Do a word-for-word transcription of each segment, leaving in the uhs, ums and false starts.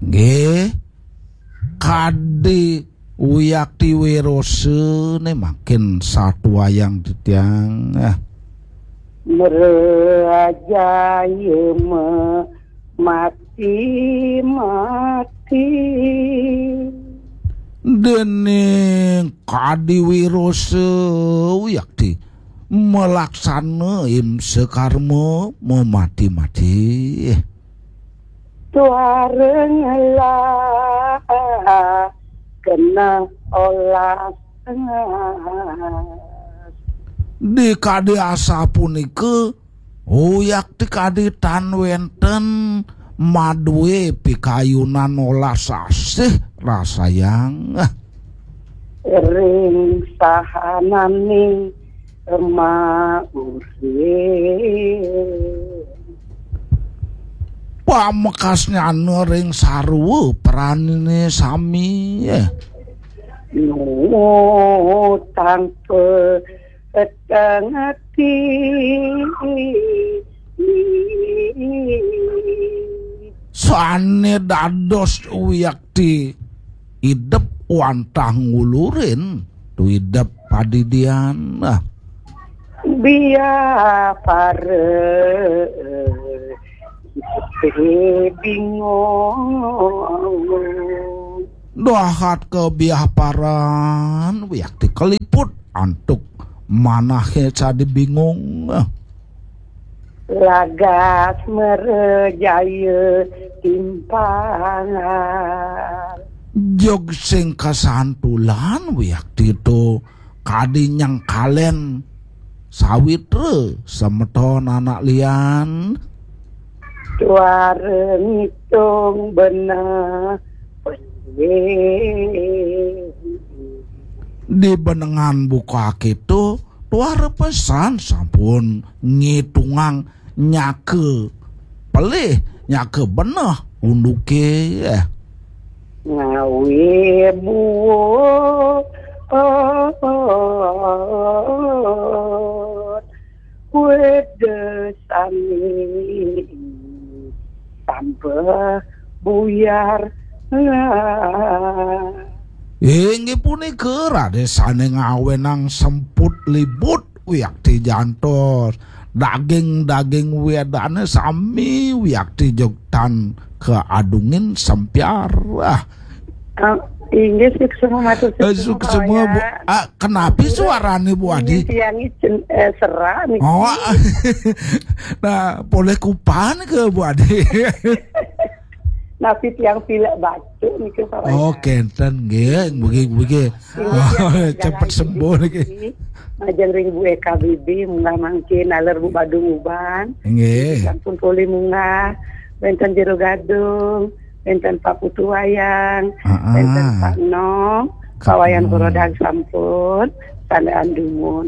Nggih. Kadi wiakti wirosane mangkin satuayang titiang. Ah. Mrejaya me-, mati-mati. Dening kadi wirasa wiakti malaksana imsa karma memati-mati. Tuareng lah kena olas. Di kadi asapunika, uyakti kadi tan wenten madue pikayunan olas asih rasayang. Ring sahananing mauri. Pamekasnyana ring sarwa pranine sami. Nutang petengati. Sane dados wiakti idep wantah ngulurin tu idep padidian. Ah. Biapara bingung. Dahat kebiaparan wiakti kaliput antuk manahe sadi bingung. Lagas merejaya timpangan. Jog sing kasantulan wiakti to kadi nyengkalen sawitra semeton anak lian. Tuara ngitung beneh. Di benengan buka kita, tuara pesan sampun ngitungang nyaka pelih, nyaka beneh unduke. Ngawi buah weda sami tambah buyar. Inggih punika raden sane ngawenang semput libut wiakti jantos. Daging-daging wedane sami wiakti jogtan keadungin sempiar. Ah. Ah, inggih, suksma matur. Eh, suksma, Bu. Ah, kenapi suarane, Bu Adi? Tiang iki, eh, serak niki. Oh. Nah, polih kupan ke, Bu Adi? Napi tiang pilek batuk niki, Pak Wayah? Oh, kenten nggih, mugi-mugi cepet sembuh niki. Majeng ring Bu Eka Bibi, munggah mangkin, naler Bu Badung Uban. Nggih. Sampun polih munggah, wenten Jero Gadung, wenten Pak Putu Wayang, heeh, wenten Pak Nong, Pak Wayan Nong. Kurodang sampun, sandaan dumun.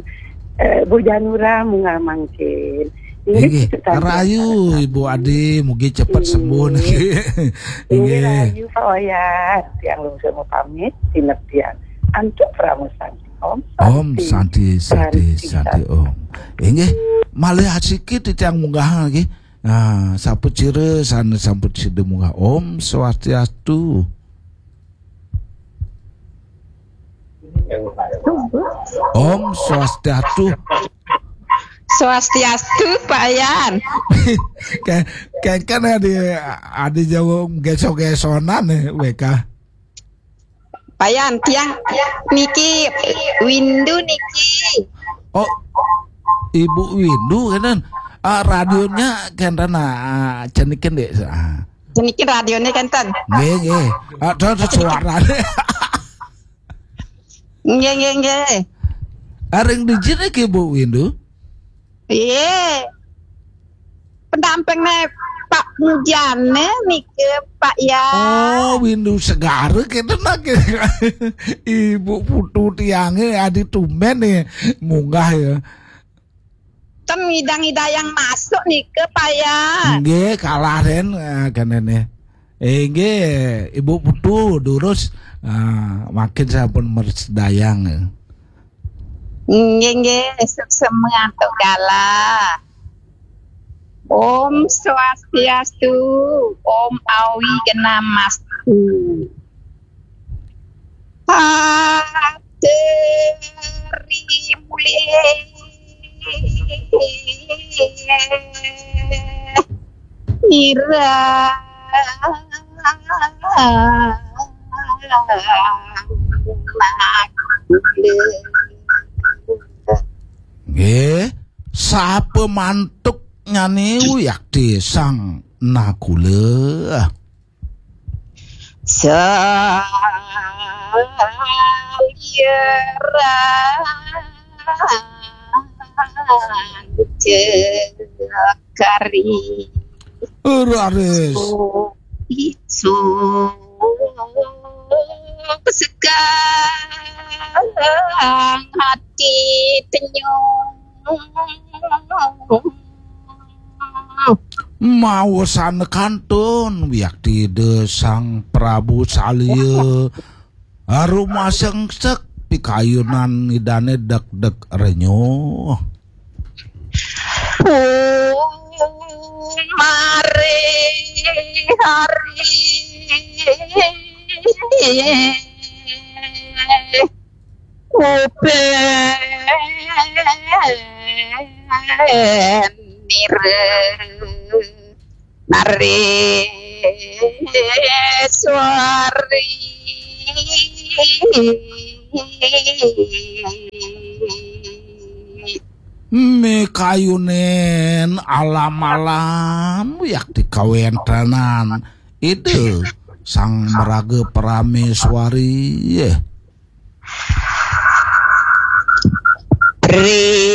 Eh, Bu Janura munggah mangkin. Inggih, rahayu, Ibu Adi, mugi cepet sembuh niki. Inggih. Inggih, rahayu, Pak Wayan. Tiang lungsur pamit, sinep tiang. Antuk Pramu Santi. Om Santi, Santi, Santi, Om. Inggih, malih asiki titiang munggah nggih. Nah, sapacira sane sampun sida munggah. Om Swastiastu. Om Swastiastu. Swastiastu, Pak Yan. Kayak, kayak kan ada, ada jauh geso-gesonan ya, W K. Pak Yan, tiang niki Windu niki. Oh, Ibu Windu kenten. Ah, radionya kenten, ah, cenikin deh. Ah. Cenikin radionya kenten. Nggih, nggih. Ah, terus suaranya. Nggih, nggih, nggih. Areng dijit niki, Bu Windu? Iya. Pendampingne Pak Mujane niki, Pak, ya. Oh, Windu Segara kenten nggih. Ibu Putu tiange adi tumben nih munggah ya. Ten ngidang-ngidayang masuk niki, Pak, ya. Nggih, kalah den, eh, kene nih. Eh, nggih, Ibu Putu durus, ah, makin sampun mersedayang. Nggih, nggih, suksema antuk galah. Om Swastiastu, Om Awi Genam Mas Ateri mulih ira. Nggih, sapa mantuk nyane Wiakti Sang Nakula? Saliran cekari. Raris. Isu segang hati tenyum. Maosana kantun Wiakti Ida Sang Prabu Salya arumasengsek pikayunan Idane dek-dek renyuh. Mari hari upen nira nari suari. Mikayunin alam-alam Wiakti kawentenan Ida Sang Maraga Prameswari. Prihatin,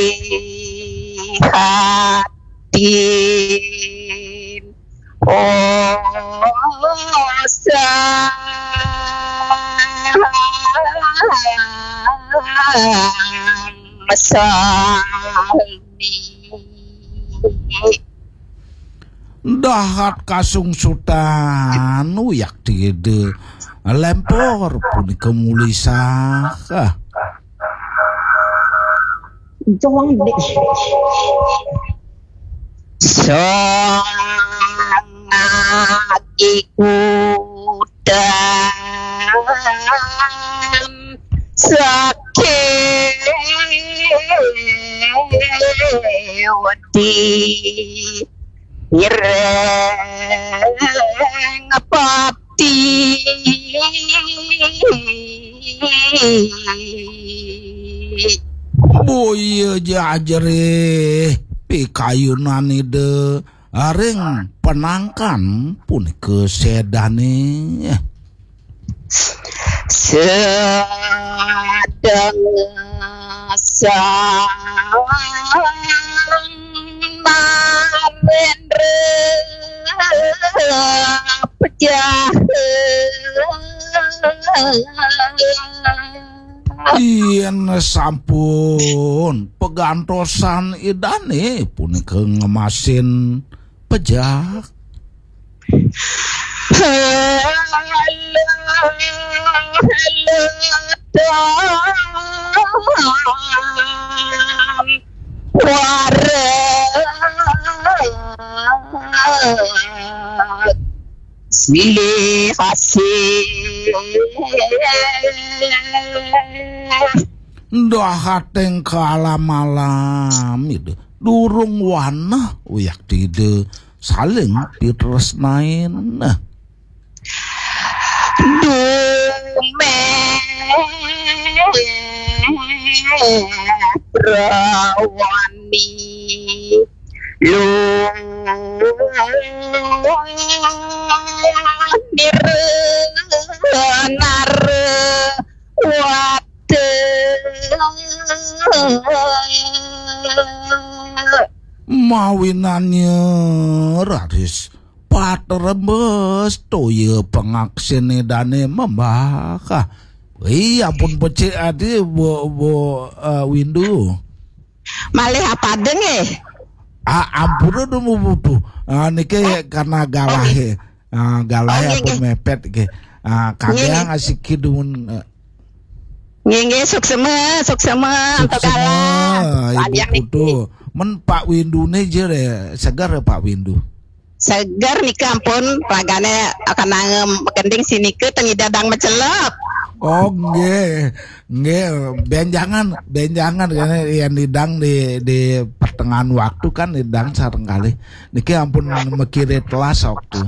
oh, sang sami. Dahat kasungsutan Wiakti Ida lempor punika mulisah. Jong dek. Sangagi kutan sakewati ireng pati. Boya jajrih pikayunan Ida ring penangkan punika sedane. Sedeng sang Narendra pejah. Yen sampun pegantosan Idane punika ngemasin pejah. Silih asih. Dahating kalam-alam Ida durung wanah Wiakti Ida saling pitresnain. Dumeh rawani lu nirnar wate. Mawinannya raris patrembes toya pangaksin Idane membah. Ih, ampun becik adi, Bu, Bu, eh, Windu. Malih apada nggih? Ah, ampura dumun, Bu. Ah, niki karena galahe. Ah, galahe ampun mepet nggih. Ah, kangge asiki dumun, eh. Nggih, nggih, suksema, suksema antuk galah. Ibu Putu. Men Pak Windune jere seger Pak Windu. Seger nika ampun, ragane akan nangem kending sinika ten Ida dang macelep. Oh, nggih. Nggih, benjangan, benjangan kene yen Ida dang di di pertengahan waktu kan Ida dang sareng kalih. Niki ampun mekire telas waktu.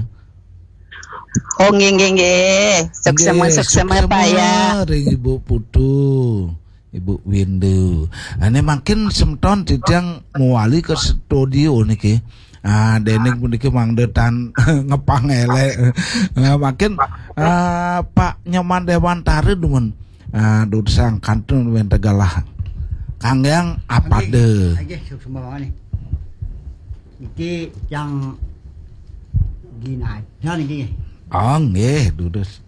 Oh, nggih, nggih, nggih. Suksema, Nggih, suksema, Pak ya. Ring Ibu Putu, Ibu Windu. Ane makin semeton titiang mewali ke studio niki. Ah, dening puniki mangda tan ngepang elek. Ah, makin ah, Pak Nyoman Dewantara dumun. Ah, dursang kantun wenten galah. Kanggeang apa de? Nggih, suksema banget nih. Iki yang ginaja niki. Oh, nggih, durus.